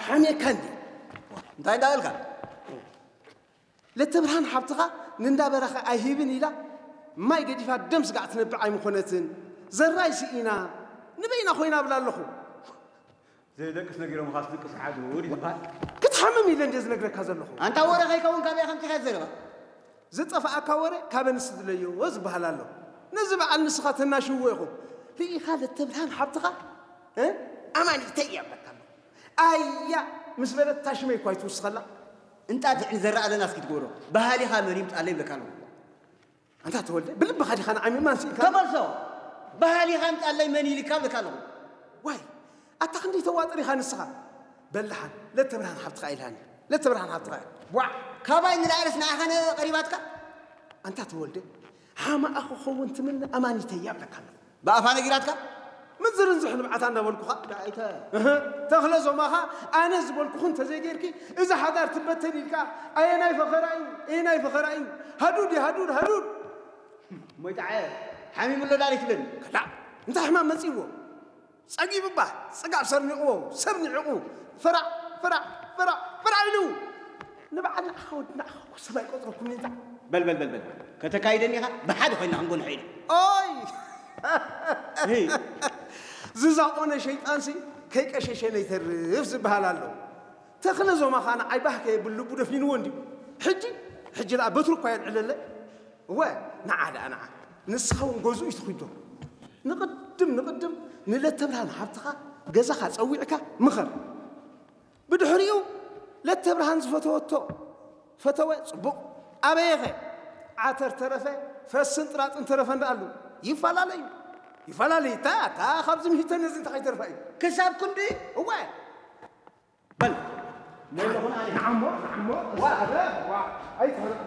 ሓሜካ እንዲ እንታይ እንዳበልካ? ለተብርሃን ሓብትኻ ንእንዳበረኸ ኣይሂብን ኢላ ማይ ገዲፋ ደም ስጋዕ ትነብዕ ኣይምኾነትን። ዘራይ ስኢና ንበይና ኮይና ብላ ኣለኹ። ዘይደቅስ ነጊሮምኻ ትድቅስ ሓዱ ድዩ ዝበሃል? ክትሓምም ኢለ እንደ ዝነግረካ ዘለኹ። ኣንታ ወረ ከይከውን ካበይ ከምፂኻ ዘረባ? ዝጠፍኣካ ወረ ካብ ኣንስቲ ድለዮ ዝበሃል ኣሎ። ነዚ በዓል ንስኻ ተናሽዎ ኢኹም። ርኢኻ ለተብርሃን ሓብትኻ፣ እ? ኣማኒተይ እያ ብለካ ኣሎ። ኣያ ምስ በለት ታሽመይ እኳ ይትውስኸላ። እንጣጢዕ ንዘረኣ ኣለና እስኪ ትገብሮ። በሃሊኻ መን ይምጣለይ ይብለካ ኣለኹ። ኣንታ ተወልደ፣ ብልብኻ ዲኻ ንዓይ ምእማን ስኢንካ? ተመልሶ። በሃሊኻ ይምጣለይ መን ይልካ ይብለካ ኣለኹ። ዋይ፣ ኣታ ክንደይ ተዋጥር ኢኻ ንስኻ። በል ደሓን፣ ለተብርሃን ሓብትኻ ኢልሃኒ። ለተብርሃን ሓብትኻ። ዋዕ፣ ካባይ ንላዕልስ ንዓኻ ነ ቀሪባትካ? ኣንታ ተወልደ፣ ሓማኣ ክኸውን ትምነ ኣማኒተይ እያ ብለካ ኣለኹ። ብኣፋ ነጊራትካ? ምዝርንዝሕ ንብዓታ እንዳበልኩኻ። ዳይተ። እህ፣ ተኽለ ዞማኻ ኣነ ዝበልኩኹ እንተዘይጌርኪ፣ እዚ ሓዳር ትበተን ኢልካ፣ ኣየናይ ፈኸራ እዩ? ኣየናይ ፈኸራ እዩ? ሃዱድ እዩ፣ ሃዱድ፣ ሃዱድ። ሞይጣዐ፣ ሓሚሙ ኣሎ ዳሊ ትብል። ከላ፣ እንታይ ሕማም መጺእዎ? ጸጊቡ እባ፣ ጽጋብ ሰርኒቕዎ፣ ሰብ ንዒቑ፣ ፍራዕ፣ ፍራዕ፣ ፍራዕ፣ ፍራዕ ኢሉ። ንበዓል ንዓኻ ወዲ ንዓኻ እኮ ሰብ ኣይቆጽረኩምን እንታ። በል፣ በል፣ በል፣ በል። ከተካይደኒ ኢኻ፣ ብሓደ ኮይንና ክንጎንሖ ኢና። ኦይ! ሂ። ዝዛቆነ ሸይጣንሲ ከይቀሸሸ ነይተርፍ ዝበሃል ኣሎ። ተኽለ ዞማ ኸኣ ንዓይ ባህ ከየብል ልቡ ደፊንዎ እንድዩ። ሕጂ፣ ሕጂ ደኣ በትሩ እኳ የልዕለለይ። እወ፣ ንዓ ደኣ ንዓ። ንስኻ እውን ገዝኡ እዩ ትኹይዶ። ንቕድም፣ ንቕድም ንለተብርሃን ሓብትኻ ገዛኻ ጸዊዕካ ምኸር። ብድሕሪኡ ለተብርሃን ዝፈተወቶ ፈተወ፣ ጽቡቕ። ኣበየኸ? ዓተር ተረፈ፣ ፈስን ጥራጥን ተረፈ እንዳኣሉ። ይፈላለዩ። ይፈላለዩ። እታ፣ እታ ካብዚ ምሂተ ነዚ እንታይ ከይተርፋ እዩ? ክሳብ ክንዲ? እወ። በል። ነለኹን ኣነ። ንዓሞ፣ ንዓሞ። ዋ። ዋ። ኣይትሕረቕ።